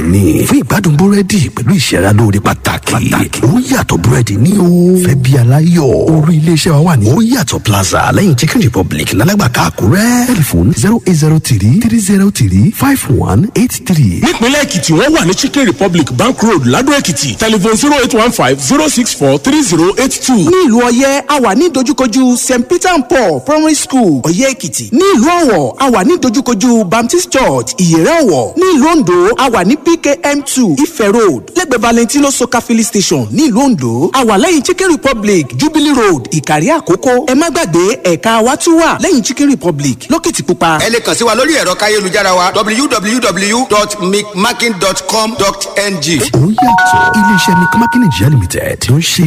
Ni fún ìgbádùn búrẹ́dì pẹ̀lú ìṣẹ́ra lóore pàtàkì. Ó yàtọ̀ búrẹ́dì ní o. Fẹ́ bí aláyọ̀. Orí iléeṣẹ́ wa wà ní Ó Yàtọ̀ Plaza, lẹ́yìn Chicken Republic, Lálágbàká, Àkúrẹ́. Tẹlifon 08033035183. Nípínlẹ̀ Èkìtì, wọ́n wà ní Chicken Republic, Bank Road, Ladò Èkìtì. Telephone 08150643082. Ní ìlú Ọ̀yẹ́, a wà ní dojúkojú St Peter and Paul Primary School, Ọ̀yẹ́ Èkìtì. Ní ìlú Ọ̀wọ̀, a wà ní dojúkojú Baptist Church, Ìyẹ̀rẹ̀ Ọ̀wọ̀. Ní ìlú Oǹdó, a wà ní PKM 2, Ife Road, lẹ́gbẹ̀ẹ́ Valentino Soka Filling Station ní ìlú Oǹdó. A wà lẹ́yìn Chicken Republic, Jubilee Road, Ìkàrí Àkókó. Ẹ má gbàgbé, ẹ̀ka wa tún wà lẹ́yìn Chicken Republic Lókìtìpupa. Ẹ lè kàn sí wa lórí ẹ̀rọ káyélujára wa, www.micmaking.com.ng. Ó yàtọ̀, iléeṣẹ́ Micmac Nigeria Limited ló ń ṣe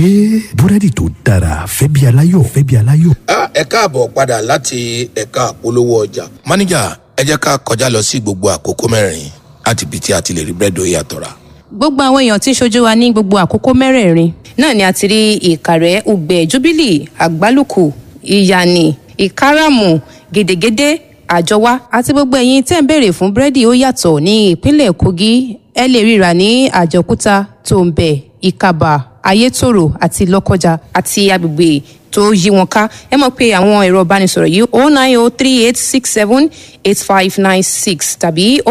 búrẹ́dì tó dára fẹ́ bí aláyọ̀, fẹ́ bí aláyọ̀. Ẹ káàbọ̀ padà láti ẹ̀ka àpolówó ọjà. Máníjà, ẹ jẹ́ ká kọjá lọ sí gbogbo àkókò mẹ́rin láti ibi tí a ti lè rí búrẹ́dì Ó Yàtọ̀ rà. Gbogbo àwọn èèyàn tí ń ṣojú wa ní gbogbo àkókò mẹ́rẹ̀ẹ̀rin náà ni a ti rí Ìkàrẹ́, Ugbẹ́, Jubilee, Àgbálùkù, Ìyànì, Ìkáràmù, Gèdègèdè, Àjọwá àti gbogbo ẹ̀yin tẹ́ ń béèrè fún búrẹ́dì Ó Yàtọ̀ ní ìpínlẹ̀ Kogi, ẹ lè ríra ní Àjọkúta, Tòǹbẹ̀, Ìkàbà, Ayétòrò àti Lọ́kọjà àti agbègbè tó yí wọn ká. Ẹ mọ̀ pé àwọn ẹ̀rọ ìbánisọ̀rọ̀ yìí: 09038678596 tàbí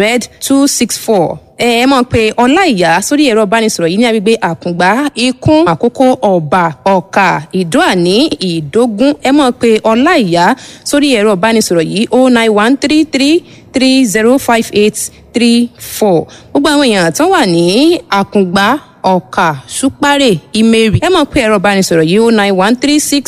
07068800264. Ẹ mọ̀ pé Ọláìyá sórí ẹ̀rọ ìbánisọ̀rọ̀ yìí ní agbègbè Àkùngbá, Ikún Àkókò, Ọ̀bà, Ọ̀kà, Ìdóàní, Ìdógún. Ẹ mọ̀ pé Ọláìyá sórí ẹ̀rọ ìbánisọ̀rọ̀ yìí: 09133305834. Gbogbo àwọn èèyàn tó wà ní Àkùngbá, Ọ̀kà, Ṣúpárè, Ìmẹ̀rì, ẹ mọ̀ pé ẹ̀rọ ìbánisọ̀rọ̀ yìí: 09136